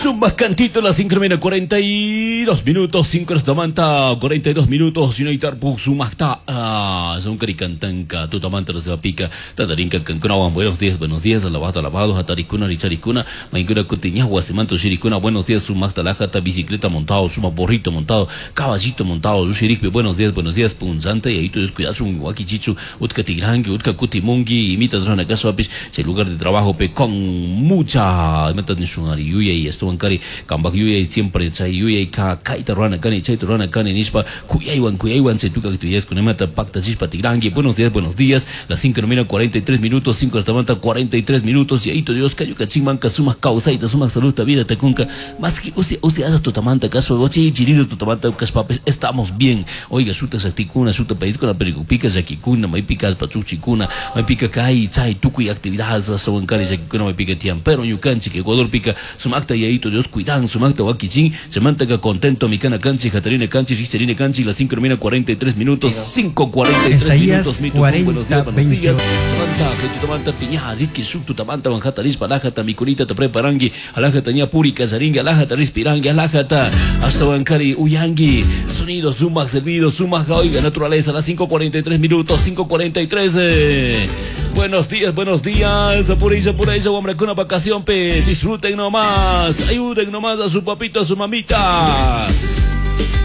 Sumak cantito, las 5 menos 42 minutos, 5 horas tamanta, 42 minutos, Yunaitarpuk sumakta, ah, son caricantanka, tutamanta pica, tatarinka cancunawan, buenos días, buenos días, alabado, alabado, hatarikuna, richarikuna, mainkuna kutiña, huasimanto, shirikuna, buenos días, sumakta, lajata, bicicleta montado, suma borrito montado, caballito montado, yushirikpi, buenos días, punzante, y ahí tú descuidas un guaquichichu, utka tigrangi, utka kutimungi, imita drona kasuapish, chay lugar de trabajo, pe, con mucha, imita nishunari yuya y estuvo kari kambak yuyay siempre chay yuyay ka kayta rurana kani chayta rurana kani nishpa kuyaywan kuyaywan chay tukuy actividades pakta chishpa tigrangi. Buenos días, las 5 de la 43 minutos, 5 de la mañana 43 minutos, y ahí Dios kayu kachimmanka sumak kawsayta sumak saludta vida takunka más que usi usi asa tutamanta kaso ochi chirilo tutamanta kashpapish estamos bien. Oiga, shuta shaktikuna, shuta país con la pericupika shakikuna, maypika pachuchikuna, maypika kay chay tukuy actividades asawan kari shakikuna maypika tiyan, pero ñukanchik Ecuador pika sumakta yayito Dios cuidan sumakta wakichin, chamantaca contento mikana kanchi, jatarina kanchi, richarina kanchi, las 5 de la mañana 43 minutos, 5:43 Isaías minutos, mi tucum, buenos días, 40, buenos días. 28. Samanta, que tutamanta piña, riki, suk, tutamanta, banjata, rispa, alajata, mikunita, te preparangi, alajata, ña, puri, casaringi, alajata, respirangi, alajata, hasta bancari, uyangi, sonido, sumac, servido, sumac, oiga, naturaleza, las 5:43 minutos, 5:43. Buenos días, buenos días, por ella, por ella, hombre, con una vacación, pe, disfruten nomás, ayuden nomás a su papito, a su mamita.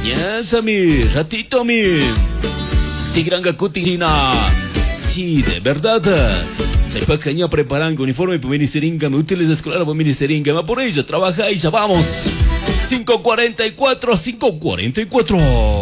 Yes, mi, ratito, mi. Tigranga kutina. Sí, de verdad. Chaypacaña preparando uniforme para ministeringa, me útiles escolar para ministeringa, va por ella, trabaja y ya vamos. 5:44, 5:44.